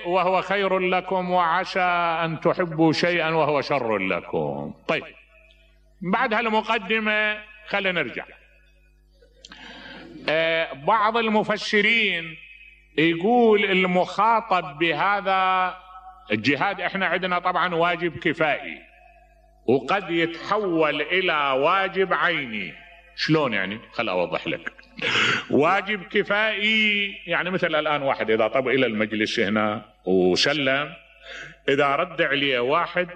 وهو خير لكم وعسى أن تحبوا شيئا وهو شر لكم. طيب بعد هالمقدمة خلينا نرجع. بعض المفسرين يقول المخاطب بهذا الجهاد، احنا عندنا طبعا واجب كفائي وقد يتحول الى واجب عيني. شلون يعني؟ خل اوضح لك. واجب كفائي يعني مثل الان واحد اذا طب الى المجلس هنا وسلم، اذا رد عليه واحد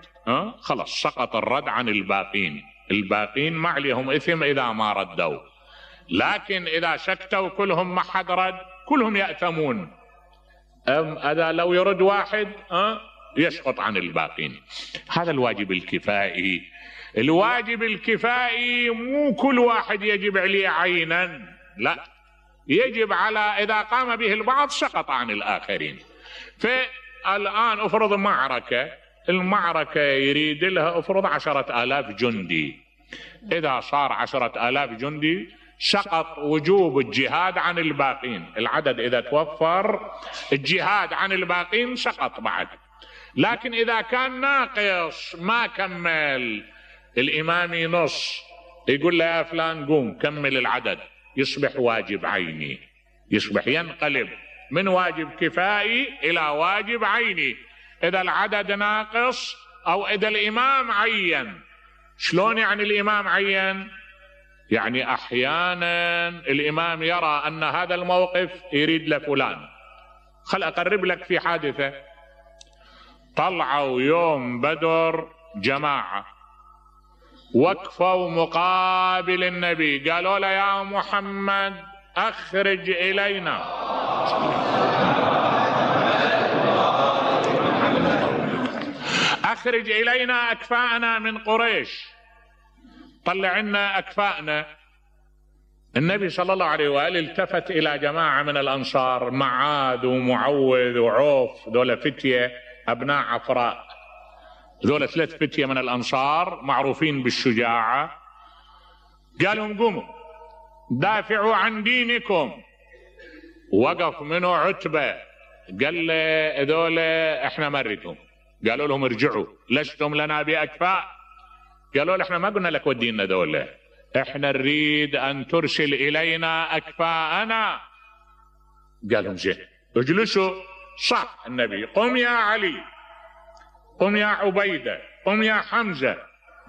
خلص سقط الرد عن الباقين، الباقين ما عليهم اثم اذا ما ردوا، لكن اذا سكتوا كلهم ما حد رد كلهم يأثمون. هذا لو يرد واحد يسقط عن الباقين. هذا الواجب الكفائي. الواجب الكفائي مو كل واحد يجب عليه عينا، لا، يجب على اذا قام به البعض سقط عن الاخرين. فالان افرض معركة، المعركة يريد لها افرض 10,000 جندي، اذا صار 10,000 جندي سقط وجوب الجهاد عن الباقين، العدد اذا توفر الجهاد عن الباقين سقط بعد. لكن اذا كان ناقص ما كمل، الامام نص يقول له يا فلان قوم كمل العدد، يصبح واجب عيني، يصبح ينقلب من واجب كفائي الى واجب عيني اذا العدد ناقص او اذا الامام عين. شلون يعني الامام عين؟ يعني احيانا الامام يرى ان هذا الموقف يريد لفلان. خل اقرب لك في حادثة. طلعوا يوم بدر جماعة وقفوا مقابل النبي، قالوا له يا محمد اخرج الينا، اخرج الينا اكفاءنا من قريش، طلع لنا اكفاءنا. النبي صلى الله عليه وآله التفت الى جماعة من الانصار، معاذ ومعوذ وعوف، ذولا فتية ابناء عفراء، ذولا 3 فتية من الانصار معروفين بالشجاعة. قالوا قوموا دافعوا عن دينكم. وقف منه عتبة قال له ذولا احنا مرتهم. قالوا لهم ارجعوا لستم لنا باكفاء. قالوا له احنا ما قلنا لك ودينا ذولا، احنا نريد ان ترسل الينا اكفاءنا. قالوا زين اجلسوا. صح النبي قم يا علي، قم يا عبيدة، قم يا حمزة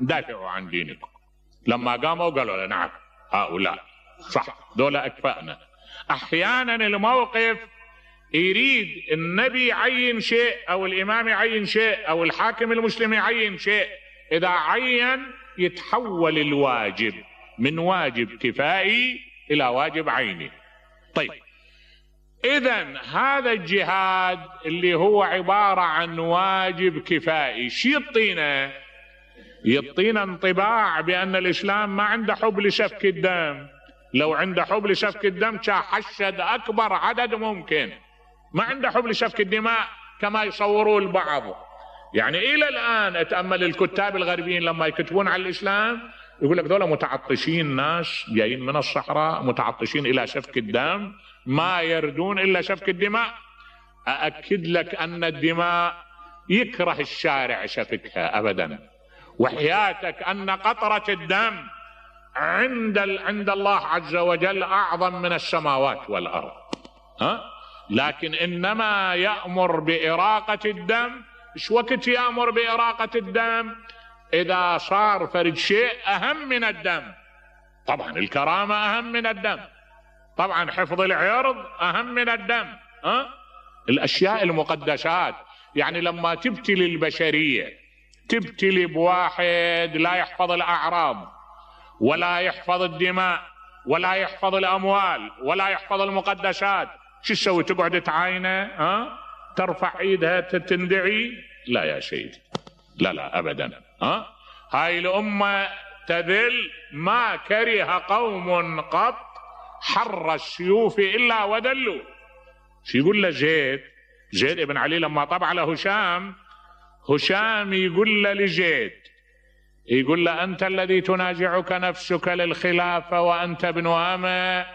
دافعوا عن دينكم. لما قاموا قالوا له نعم هؤلاء صح ذولا اكفاءنا. احيانا الموقف يريد النبي يعين شيء او الامام يعين شيء او الحاكم المسلم يعين شيء، اذا عين يتحول الواجب من واجب كفائي الى واجب عيني. طيب اذا هذا الجهاد اللي هو عبارة عن واجب كفائي شو يعطينا؟ يعطينا انطباع بان الاسلام ما عنده حب لسفك الدم. لو عنده حب لسفك الدم حشد اكبر عدد ممكن، ما عنده حب لسفك الدماء كما يصوروا البعض. يعني الى الان اتامل الكتاب الغربيين لما يكتبون على الاسلام يقول لك ذولا متعطشين، ناس جايين من الصحراء متعطشين الى سفك الدم، ما يردون الا سفك الدماء. ااكد لك ان الدماء يكره الشارع سفكها ابدا، وحياتك ان قطرة الدم عند الله عز وجل اعظم من السماوات والارض. لكن انما يأمر بإراقة الدم. ايش وقت يأمر بإراقة الدم؟ اذا صار فرد شيء اهم من الدم. طبعا الكرامة اهم من الدم، طبعا حفظ العرض اهم من الدم. الاشياء المقدسات. يعني لما تبتلي البشرية تبتلي بواحد لا يحفظ الاعراض ولا يحفظ الدماء ولا يحفظ الاموال ولا يحفظ المقدسات، شو تسوي؟ تقعد تعاينه؟ ترفع ايدها تندعي؟ لا يا سيدي، لا لا ابدا. هاي الامة تذل ما كره قوم قط حر السيوف الا ودلوا. شو يقول له زيد ابن علي لما طبع له هشام يقول له لزيد، يقول له انت الذي تنازعك نفسك للخلافة وانت ابن أمة.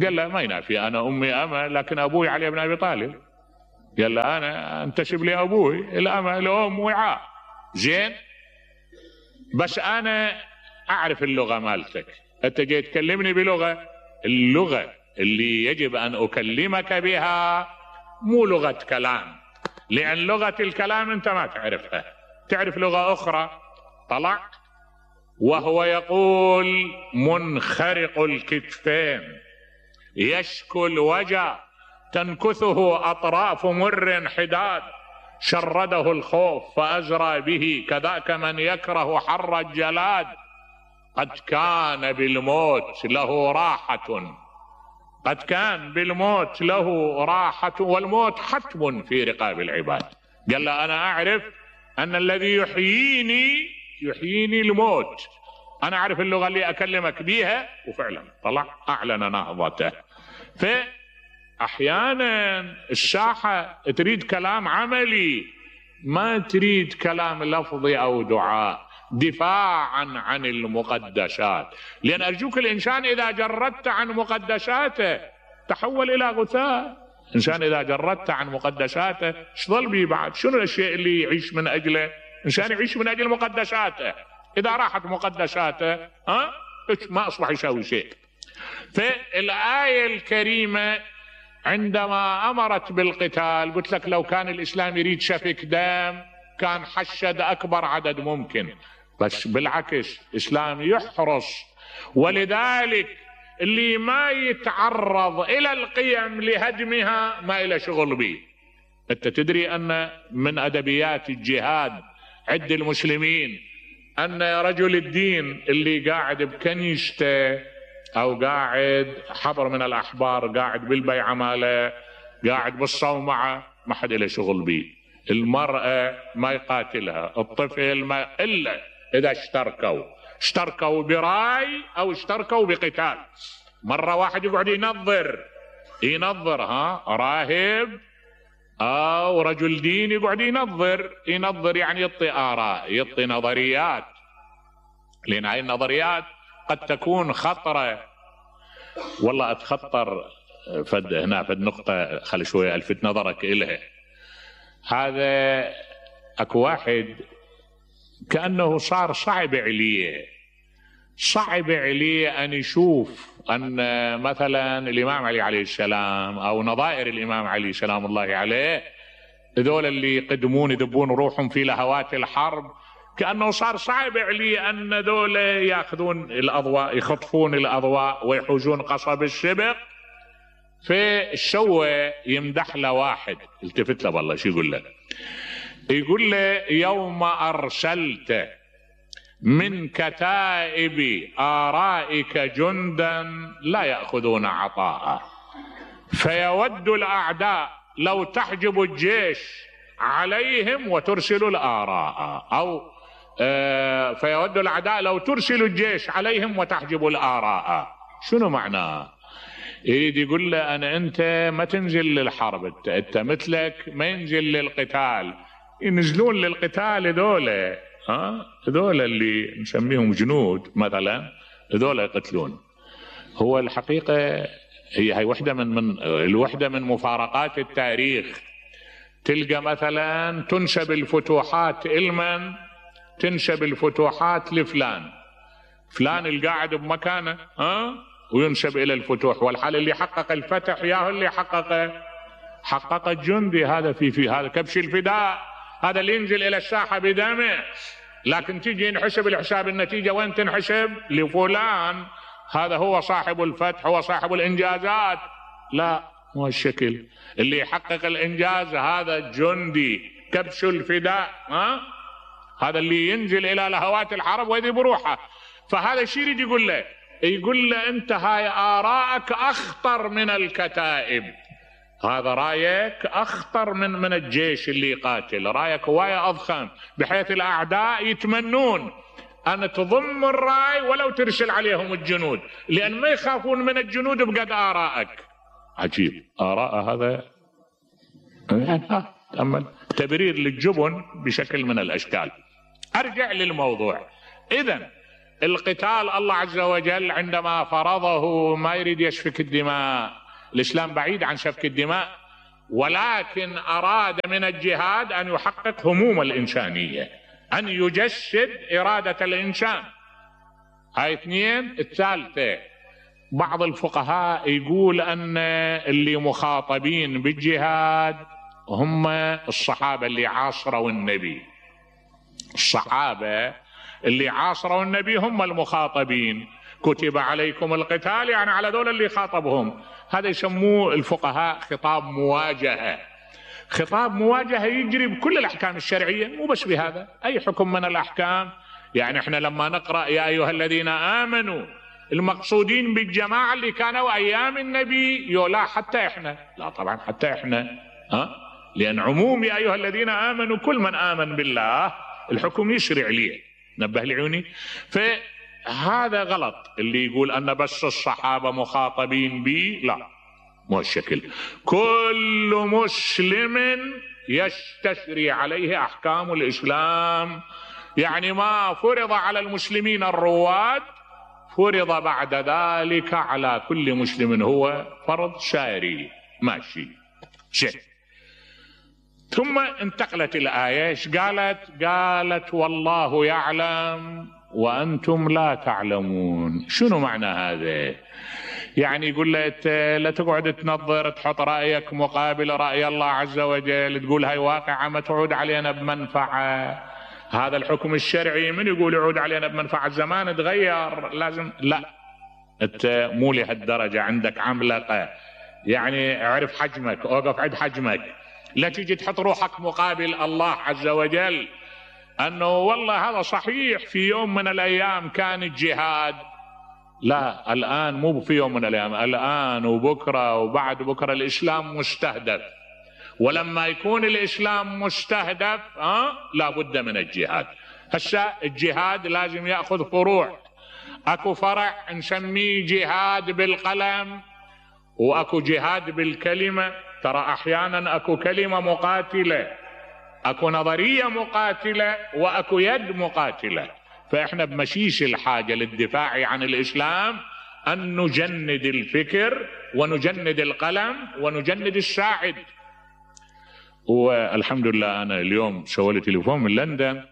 قال له ما ينافي، انا امي أمة لكن ابوي علي بن ابي طالب. قال له انا انتسب لابوي، الام وعاء زين، بس انا اعرف اللغة مالتك، انت جاي تكلمني بلغة، اللغة اللي يجب ان اكلمك بها مو لغة كلام، لان لغة الكلام انت ما تعرفها، تعرف لغة اخرى. طلع وهو يقول منخرق الكتفين يشكو الوجع تنكثه اطراف مر حداد، شرده الخوف فازرى به كذاك من يكره حر الجلاد، قد كان بالموت له راحة، قد كان بالموت له راحة، والموت حتم في رقاب العباد. قال له أنا أعرف أن الذي يحييني الموت، أنا أعرف اللغة اللي أكلمك بيها. وفعلا طلع أعلن نهضته. فأحيانا الساحة تريد كلام عملي، ما تريد كلام لفظي أو دعاء، دفاعا عن المقدسات. لأن أرجوك الإنسان إذا جردت عن مقدساته تحول إلى غثاء. إنسان إذا جردت عن مقدساته ايش ظل به بعد؟ شنو الشيء اللي يعيش من أجله؟ إنسان يعيش من أجل مقدساته، إذا راحت مقدساته ما أصبح يسوي شيء. فالآية الكريمة عندما أمرت بالقتال، قلت لك لو كان الإسلام يريد سفك دم كان حشد أكبر عدد ممكن، بس بالعكس الإسلام يحرص. ولذلك اللي ما يتعرض إلى القيم لهدمها ما إلى شغل به. أنت تدري أن من أدبيات الجهاد عند المسلمين أن رجل الدين اللي قاعد بكنيسته أو قاعد حبر من الأحبار، قاعد بالبيعة ماله، قاعد بالصومعة، ما حد إلى شغل به. المرأة ما يقاتلها، الطفل ما، إلا إذا اشتركوا براي أو اشتركوا بقتال. مرة واحد يقعد ينظر راهب أو رجل دين يقعد ينظر يعني يعطي آراء، يعطي نظريات، لأن هاي النظريات قد تكون خطرة. والله أتخطر فد نقطة خلي شوية ألفت نظرك إلها. هذا أكو واحد كأنه صار صعب عليه أن يشوف أن مثلا الإمام علي عليه السلام أو نظائر الإمام علي سلام الله عليه، ذول اللي يقدمون يذبون روحهم في لهوات الحرب، كأنه صار صعب عليه أن ذول يأخذون الأضواء، يخطفون الأضواء ويحوزون قصب السبق. فالشوة يمدح له واحد، التفت له والله شو يقول له؟ يقول له يوم أرسلت من كتائب آرائك جندا لا يأخذون عطاء، فيود الأعداء لو تحجب الجيش عليهم وترسل الآراء، أو فيود الأعداء لو ترسل الجيش عليهم وتحجب الآراء. شنو معناه؟ يريد يقول له أنت ما تنزل للحرب، أنت مثلك ما ينزل للقتال، ينزلون للقتال هذول اللي نسميهم جنود مثلا، هذول يقتلون. هو الحقيقة هي واحدة من مفارقات التاريخ. تلقى مثلا تنسب الفتوحات لمن؟ تنسب الفتوحات لفلان القاعد بمكانه وينسب إلى الفتوح، والحال اللي حقق الفتح ياهو اللي حقق الجندي. هذا في هذا كبش الفداء، هذا اللي ينزل إلى الساحة بدمه. لكن تيجي ينحسب الحساب النتيجة وين تنحسب؟ لفلان، هذا هو صاحب الفتح، هو صاحب الإنجازات. لا، مو الشكل. اللي يحقق الإنجاز هذا الجندي كبش الفداء، هذا اللي ينزل إلى لهوات الحرب ويذهب بروحه. فهذا الشيء يريد يقول له أنت هاي آراءك أخطر من الكتائب، هذا رايك أخطر من الجيش اللي يقاتل، رايك هواية أضخم، بحيث الأعداء يتمنون أن تضم الراي ولو ترسل عليهم الجنود، لأن ما يخافون من الجنود بقد آراءك. عجيب، آراء هذا تأمل تبرير للجبن بشكل من الأشكال. أرجع للموضوع. إذن القتال الله عز وجل عندما فرضه ما يريد يسفك الدماء. الإسلام بعيد عن سفك الدماء، ولكن أراد من الجهاد أن يحقق هموم الإنسانية، أن يجسد إرادة الإنسان. هاي اثنين. الثالثة، بعض الفقهاء يقول أن اللي مخاطبين بالجهاد هم الصحابة اللي عاصروا النبي. الصحابة اللي عاصروا النبي هم المخاطبين. كتب عليكم القتال، يعني على دول اللي خاطبهم. هذا يسموه الفقهاء خطاب مواجهة. خطاب مواجهة يجري بكل الأحكام الشرعية، مو بس بهذا، أي حكم من الأحكام. يعني احنا لما نقرأ يا أيها الذين آمنوا، المقصودين بالجماعة اللي كانوا أيام النبي؟ لا حتى احنا، لا طبعا حتى احنا، لأن عموم يا أيها الذين آمنوا كل من آمن بالله الحكم يشرع ليه. نبه لعيوني. فهذا غلط اللي يقول أن بس الصحابة مخاطبين بي، لا مو الشكل. كل مسلم يستشري عليه أحكام الإسلام، يعني ما فرض على المسلمين الرواد فرض بعد ذلك على كل مسلم، هو فرض ساري ماشي شيء. ثم انتقلت الآية، ايش قالت والله يعلم وأنتم لا تعلمون. شنو معنى هذا؟ يعني يقول لك لا تقعد تنظر تحط رأيك مقابل رأي الله عز وجل، تقول هاي واقعة ما تعود علينا بمنفعة. هذا الحكم الشرعي من يقول يعود علينا بمنفعة؟ الزمان تغير، لازم لا، انت مو لهالدرجة، عندك عملقة، يعني اعرف حجمك، اوقف عند حجمك. لا تيجي تحط روحك مقابل الله عز وجل انه والله هذا صحيح في يوم من الايام كان الجهاد، لا الان مو في يوم من الايام، الان وبكره وبعد بكره الاسلام مستهدف. ولما يكون الاسلام مستهدف لا بد من الجهاد. هسه الجهاد لازم ياخذ فروع. اكو فرع نسميه جهاد بالقلم، واكو جهاد بالكلمة. ترى احيانا اكو كلمة مقاتلة، اكو نظرية مقاتلة، واكو يد مقاتلة. فاحنا بمشيش الحاجة للدفاع عن الاسلام ان نجند الفكر ونجند القلم ونجند الساعد. والحمد لله انا اليوم سويت تليفون من لندن،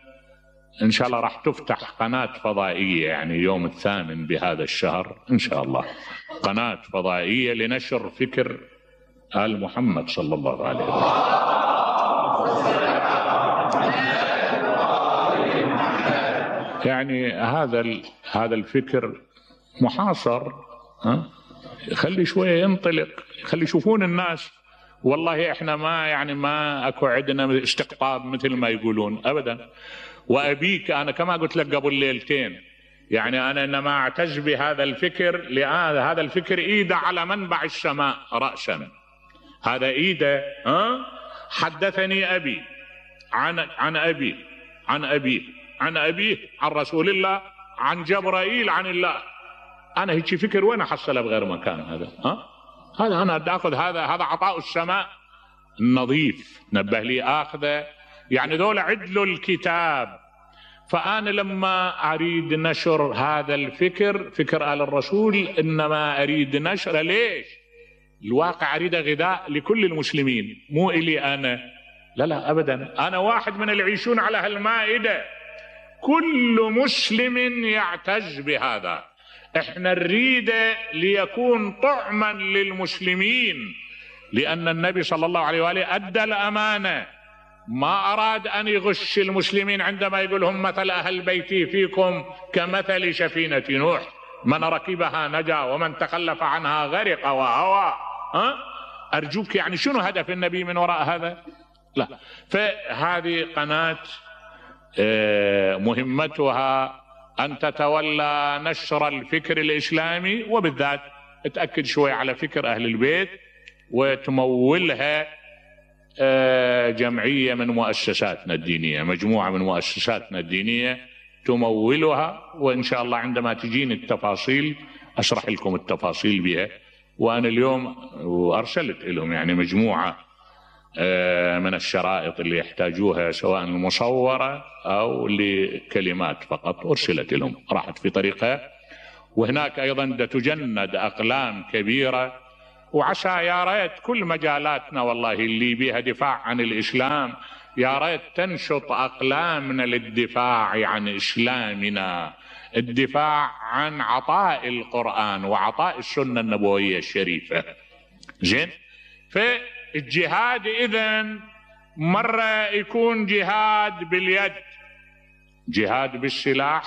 ان شاء الله راح تفتح قناة فضائية، يعني يوم 8 بهذا الشهر ان شاء الله، قناة فضائية لنشر فكر آل محمد صلى الله عليه وسلم. يعني هذا الفكر محاصر، خلي شوية ينطلق، خلي يشوفون الناس. والله احنا ما اكو عندنا استقطاب مثل ما يقولون ابدا. وابيك انا كما قلت لك قبل ليلتين، يعني انا انما اعتز بهذا الفكر لان هذا الفكر ايده على منبع السماء رأسا. هذا ايده حدثني ابي عن ابيه عن رسول الله عن جبرائيل عن الله. انا هيك فكر وين احصله بغير مكان؟ هذا انا اخذ هذا عطاء السماء النظيف. نبه لي اخذه، يعني دول عدلوا الكتاب. فانا لما اريد نشر هذا الفكر، فكر آل الرسول، انما اريد نشره. ليش؟ الواقع اريد غذاء لكل المسلمين، مو الي انا، لا ابدا. انا واحد من اللي يعيشون على هالمائده، كل مسلم يعتز بهذا. احنا نريده ليكون طعما للمسلمين، لان النبي صلى الله عليه وآله ادى الامانه، ما اراد ان يغش المسلمين عندما يقول هم مثل اهل بيتي فيكم كمثل سفينة نوح، من ركبها نجا ومن تخلف عنها غرق وهوى. ارجوك، يعني شنو هدف النبي من وراء هذا؟ لا. فهذه قناة مهمتها ان تتولى نشر الفكر الاسلامي، وبالذات تأكد شوي على فكر اهل البيت، وتمولها جمعية من مؤسساتنا الدينية، مجموعة من مؤسساتنا الدينية تمولها. وإن شاء الله عندما تجيني التفاصيل أشرح لكم التفاصيل بها. وأنا اليوم أرسلت لهم يعني مجموعة من الشرائط اللي يحتاجوها، سواء المصورة أو لكلمات فقط، أرسلت لهم، راحت في طريقها. وهناك أيضا تجند أقلام كبيرة وعسى يا ريت كل مجالاتنا والله اللي بيها دفاع عن الإسلام يا ريت تنشط أقلامنا للدفاع عن إسلامنا، الدفاع عن عطاء القرآن وعطاء السنة النبوية الشريفة. زين، فالجهاد إذن مرة يكون جهاد باليد، جهاد بالسلاح،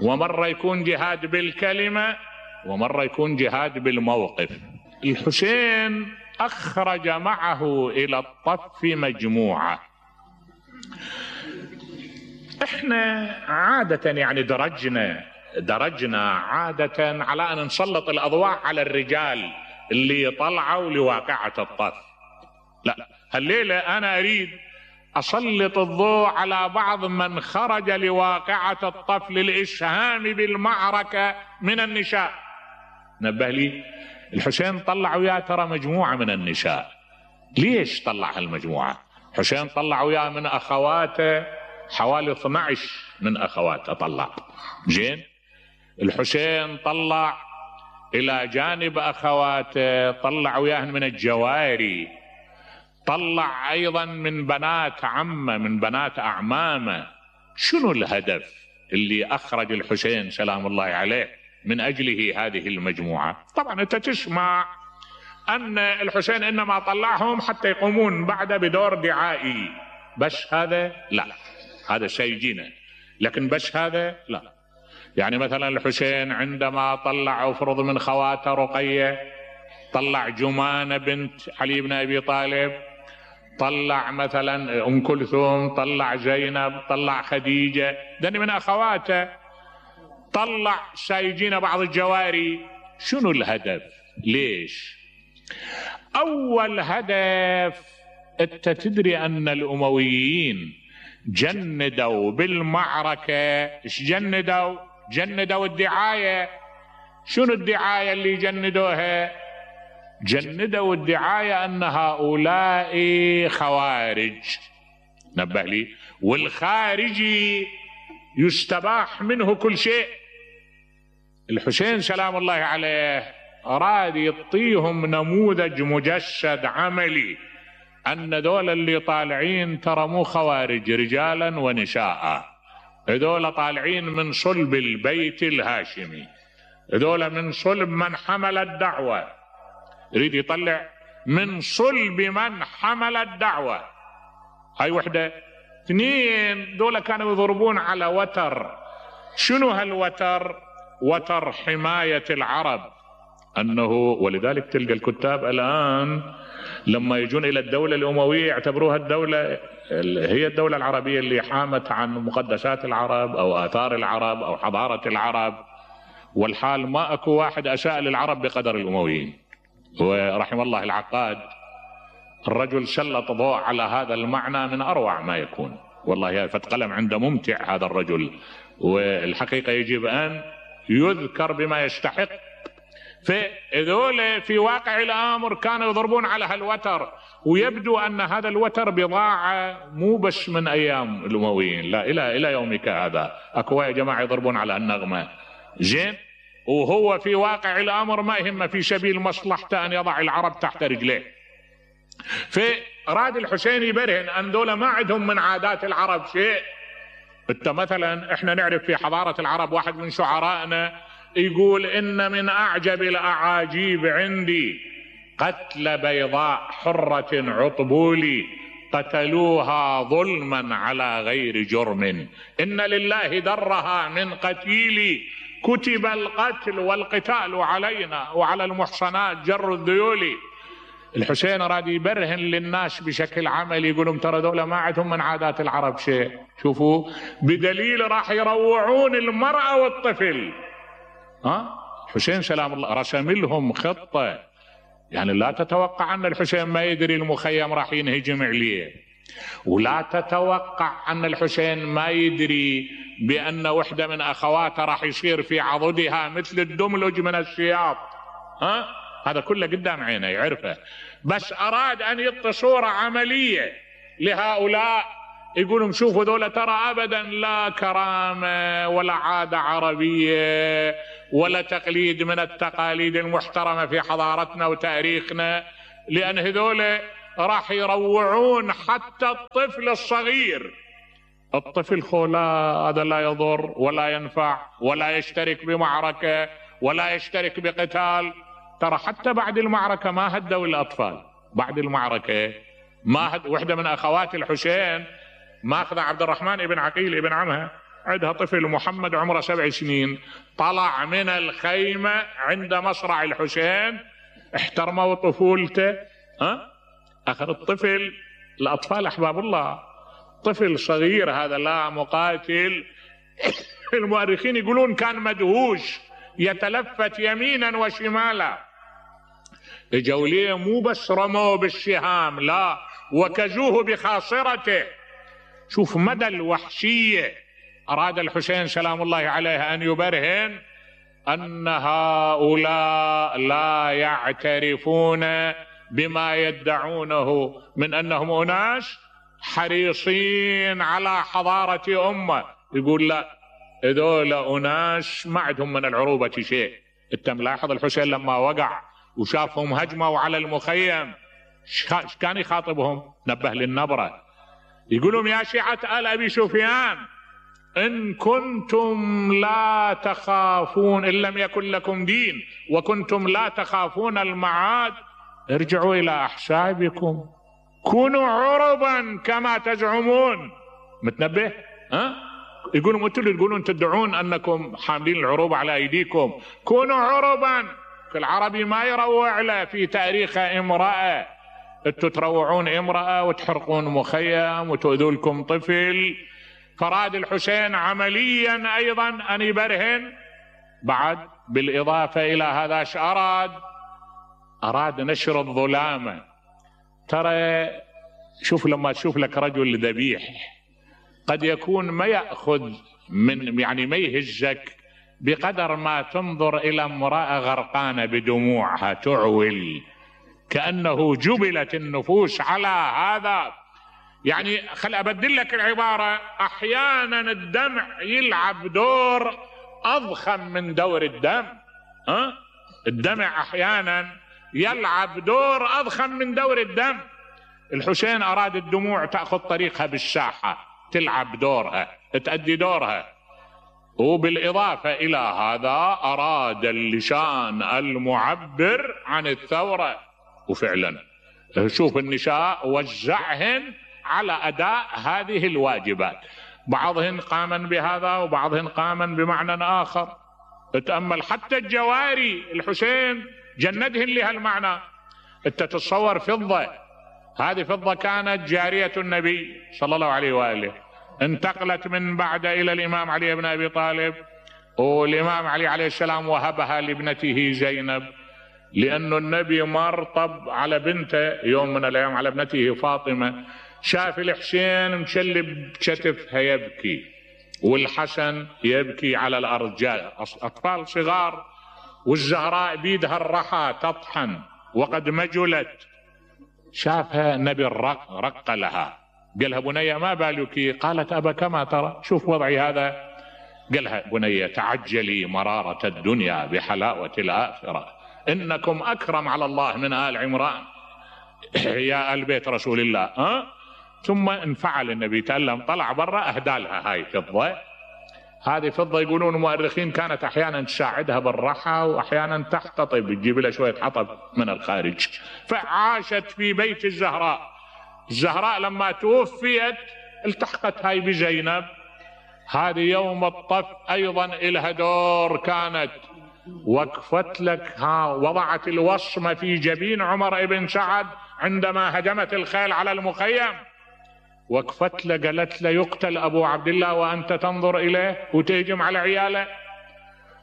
ومرة يكون جهاد بالكلمة، ومرة يكون جهاد بالموقف. الحسين أخرج معه إلى الطف مجموعة. احنا عادة يعني درجنا عادة على أن نسلط الأضواء على الرجال اللي طلعوا لواقعة الطف. لا، هالليلة أنا أريد أسلط الضوء على بعض من خرج لواقعة الطف للإسهام بالمعركة من النساء. نبه لي، الحسين طلع وياه ترى مجموعة من النساء. ليش طلع هالمجموعة؟ حسين طلع وياه من أخواته حوالي 12 من أخواته طلع. زين، الحسين طلع إلى جانب أخواته طلع وياهن من الجواري، طلع أيضا من بنات عمه، من بنات أعمامه. شنو الهدف اللي أخرج الحسين سلام الله عليه من أجله هذه المجموعة؟ طبعا أنت تسمع أن الحسين إنما طلعهم حتى يقومون بعد بدور دعائي، بس هذا لا، هذا سيجينا، لكن بس هذا لا. يعني مثلا الحسين عندما طلع افرض من خواته رقية، طلع جمانة بنت علي بن أبي طالب، طلع مثلا أم كلثوم، طلع زينب، طلع خديجة، دني من أخواته، طلع سايجين بعض الجواري. شنو الهدف؟ ليش؟ أول هدف، أنت تدري أن الأمويين جندوا بالمعركة. إيش جندوا؟ جندوا الدعاية. شنو الدعاية اللي جندوها؟ جندوا الدعاية أن هؤلاء خوارج. نبه لي، والخارجي يستباح منه كل شيء. الحسين سلام الله عليه أراد يعطيهم نموذج مجسد عملي أن دول اللي طالعين ترى مو خوارج، رجالا ونساء، هذول طالعين من صلب البيت الهاشمي، هذول من صلب من حمل الدعوة. يريد يطلع من صلب من حمل الدعوة. هاي وحدة. اثنين، دول كانوا يضربون على وتر. شنو هالوتر؟ وتر حماية العرب. أنه ولذلك تلقى الكتاب الآن لما يجون إلى الدولة الأموية يعتبروها الدولة هي الدولة العربية اللي حامت عن مقدسات العرب أو آثار العرب أو حضارة العرب، والحال ما أكو واحد أساء للعرب بقدر الأمويين. ورحم الله العقاد، الرجل سلط ضوء على هذا المعنى من أروع ما يكون. والله فتقلم عنده ممتع هذا الرجل، والحقيقة يجب أن يذكر بما يستحق. فذول في واقع الأمر كانوا يضربون على هالوتر، ويبدو أن هذا الوتر بضاعة مو بس من أيام الأمويين، لا إلى يومك هذا أكو يا جماعة يضربون على النغمة. زين، وهو في واقع الأمر ما يهمه في سبيل مصلحته أن يضع العرب تحت رجليه. فراد الحسين يبرهن أن دول ما عندهم من عادات العرب شيء. انت مثلا احنا نعرف في حضارة العرب واحد من شعرائنا يقول إن من أعجب الأعاجيب عندي قتل بيضاء حرة عطبولي قتلوها ظلما على غير جرم، إن لله درها من قتيلي كتب القتل والقتال علينا وعلى المحصنات جر الذيول. الحسين راد يبرهن للناس بشكل عملي، يقولون ترى دولة ما عندهم من عادات العرب شيء. شوفوا، بدليل راح يروعون المرأة والطفل. حسين سلام الله رسم لهم خطة. يعني لا تتوقع أن الحسين ما يدري المخيم راح ينهجم عليه، ولا تتوقع أن الحسين ما يدري بأن وحدة من أخواته راح يصير في عضدها مثل الدملج من السياط. هذا كله قدام عينه يعرفه، بس أراد أن يعطي صورة عملية لهؤلاء يقولون شوفوا ذولا ترى أبدا لا كرامة ولا عادة عربية ولا تقليد من التقاليد المحترمة في حضارتنا وتاريخنا، لأن هذولا راح يروعون حتى الطفل الصغير. الطفل خولا هذا لا يضر ولا ينفع ولا يشترك بمعركة ولا يشترك بقتال. ترى حتى بعد المعركة ما هدوا الأطفال، بعد المعركة ما وحدة من أخوات الحسين ماخذة عبد الرحمن ابن عقيل ابن عمها، عندها طفل محمد عمره 7 سنين، طلع من الخيمة عند مصرع الحسين، احترموا طفولته. أخذ الطفل، الأطفال أحباب الله، طفل صغير هذا لا مقاتل. المؤرخين يقولون كان مدهوش يتلفت يمينا وشمالا. اجوا ليه مو بس رموه بالسهام، لا، وكزوه بخاصرته. شوف مدى الوحشية. أراد الحسين سلام الله عليه أن يبرهن أن هؤلاء لا يعترفون بما يدعونه من أنهم أناس حريصين على حضارة أمة. يقول لا، هذول أناس ما عندهم من العروبة شيء. انت ملاحظ الحسين لما وقع وشافهم هجموا على المخيم كان يخاطبهم؟ نبه للنبرة، يقولون يا شيعة آل أبي سفيان إن كنتم لا تخافون، إن لم يكن لكم دين وكنتم لا تخافون المعاد، ارجعوا إلى أحسابكم، كونوا عربا كما تزعمون. متنبه؟ يقولون انتم اللي تقولون تدعون أنكم حاملين العروبة على أيديكم، كونوا عربا. العربي ما يروع له في تاريخه امرأة، انتم تروعون امرأة وتحرقون مخيم وتؤذوا لكم طفل. فراد الحسين عمليا أيضا أن يبرهن. بعد بالإضافة إلى هذا ايش أراد نشر الظلامة. ترى شوف لما تشوف لك رجل ذبيح قد يكون ما يأخذ من يعني ما يهزك بقدر ما تنظر إلى امرأة غرقانة بدموعها تعول، كأنه جبلت النفوس على هذا. يعني خل أبدل لك العبارة، أحيانا الدمع يلعب دور أضخم من دور الدم. الدمع أحيانا يلعب دور أضخم من دور الدم. الحسين أراد الدموع تأخذ طريقها بالساحة، تلعب دورها، تأدي دورها. وبالإضافة إلى هذا أراد اللسان المعبر عن الثورة، وفعلا شوف النساء وزعهن على أداء هذه الواجبات، بعضهن قاما بهذا وبعضهن قاما بمعنى آخر. تأمل حتى الجواري الحسين جندهن لهالمعنى. انت تتصور فضة، هذه فضة كانت جارية النبي صلى الله عليه وآله، انتقلت من بعد إلى الإمام علي بن أبي طالب، والإمام علي عليه السلام وهبها لابنته زينب، لأن النبي مرطب على بنته يوم من الأيام، على ابنته فاطمة. شاف الحسين مشلب كتفها يبكي، والحسن يبكي على الأرجاء، أطفال صغار، والزهراء بيدها الرحى تطحن وقد مجلت. شافها النبي رق لها، قالها بنية ما بالك؟ قالت أبا كما ترى، شوف وضعي هذا. قالها بنية تعجلي مرارة الدنيا بحلاوة الآخرة، إنكم أكرم على الله من آل عمران يا آل بيت رسول الله. ثم انفعل النبي، تألم، طلع برا، أهدى لها هاي فضة. هذه فضة يقولون المؤرخين كانت أحيانا تساعدها بالرحى وأحيانا تحتطب، تجيب لها شوية حطب من الخارج. فعاشت في بيت الزهراء. الزهراء لما توفيت التحقت هاي بزينب. هذه يوم الطف أيضا إلها دور، كانت وقفت لك، وضعت الوصمة في جبين عمر بن سعد عندما هجمت الخيل على المخيم، وقفت له قالت له يقتل أبو عبد الله وأنت تنظر إليه وتهجم على عياله.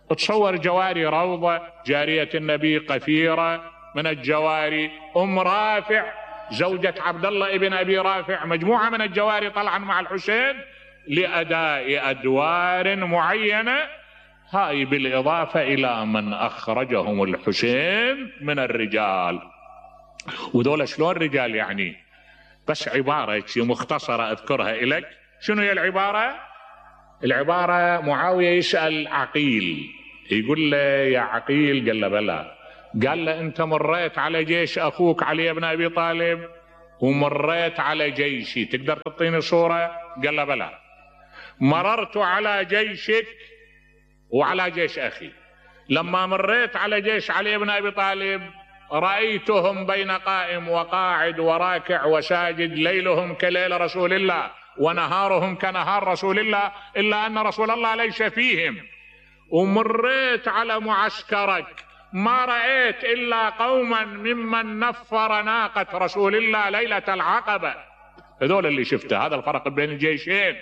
تصور جواري روضة، جارية النبي قفيرة من الجواري، أم رافع زوجة عبد الله ابن أبي رافع، مجموعة من الجواري طلعا مع الحسين لأداء أدوار معينة. هاي بالإضافة إلى من أخرجهم الحسين من الرجال. وذولا شلون رجال؟ يعني بس عبارة مختصرة أذكرها إليك. شنو هي العبارة؟ العبارة معاوية يسأل عقيل، يقول له يا عقيل، قال له بلى، قال له أنت مريت على جيش أخوك علي بن أبي طالب ومريت على جيشي، تقدر تعطيني صورة؟ قال له بلى، مررت على جيشك وعلى جيش أخي. لما مريت على جيش علي بن أبي طالب رأيتهم بين قائم وقاعد وراكع وساجد، ليلهم كليل رسول الله ونهارهم كنهار رسول الله، إلا أن رسول الله ليس فيهم. ومريت على معسكرك ما رأيت إلا قوما ممن نفر ناقة رسول الله ليلة العقبة. هذول اللي شفته، هذا الفرق بين الجيشين.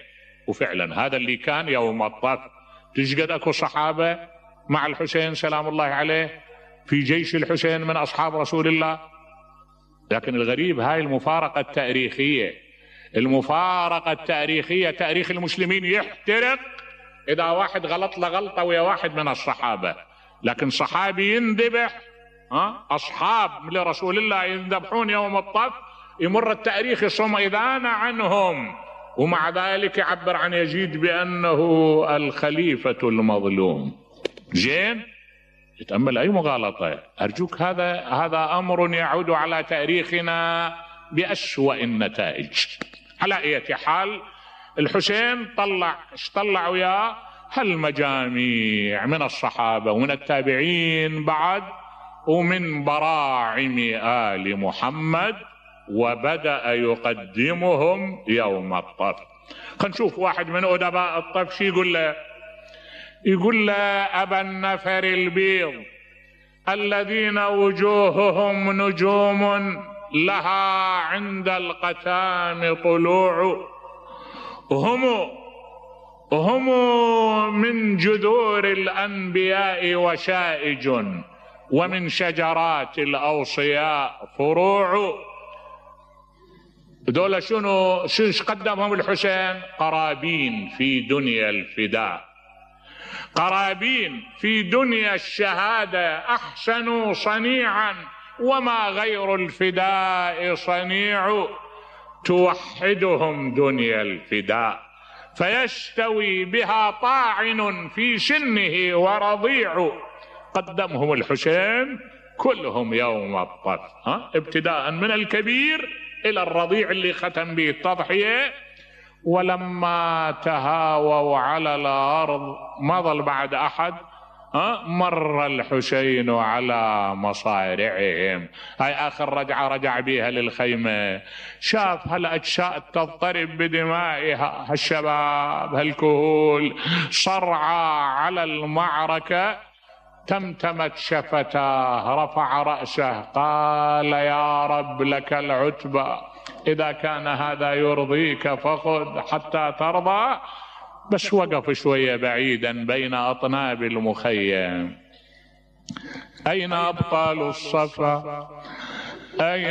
وفعلا هذا اللي كان يوم الطف. تشقد اكو صحابة مع الحسين سلام الله عليه في جيش الحسين من أصحاب رسول الله. لكن الغريب هاي المفارقة التاريخية، المفارقة التاريخية، تاريخ المسلمين يحترق إذا واحد غلط لغلطة ويا واحد من الصحابة، لكن صحابي ينذبح، أصحاب لرسول الله ينذبحون يوم الطف، يمر التاريخ صميدان عنهم، ومع ذلك يعبر عن يزيد بأنه الخليفة المظلوم. زين، يتأمل أي مغالطة أرجوك. هذا أمر يعود على تاريخنا بأسوأ النتائج. على أي حال الحسين طلع وياه هالمجاميع من الصحابة ومن التابعين بعد ومن براعم آل محمد، وبدأ يقدمهم يوم الطف. خلينا نشوف واحد من أدباء الطف شي يقول له أبا النفر البيض الذين وجوههم نجوم لها عند القتام طلوع، هم من جذور الأنبياء وشائج، ومن شجرات الأوصياء فروع. دول شنو قدمهم الحسين؟ قرابين في دنيا الفداء، قرابين في دنيا الشهادة، أحسنوا صنيعا وما غير الفداء صنيع، توحدهم دنيا الفداء فيستوي بها طاعن في سنه ورضيع. قدمهم الحسين كلهم يوم الطف، ابتداء من الكبير إلى الرضيع اللي ختم به التضحية. ولما تهاووا على الأرض ما ظل بعد أحد، مر الحسين على مصارعهم. هاي آخر رجعة رجع بيها للخيمة، شاف هالأجساد تضطرب بدمائها، هالشباب هالكهول صرعى على المعركة. تمتمت شفتاه، رفع رأسه، قال يا رب لك العتبى، إذا كان هذا يرضيك فخذ حتى ترضى. بس وقف شوية بعيدا بين أطناب المخيم. أين أبطال الصفا؟ أين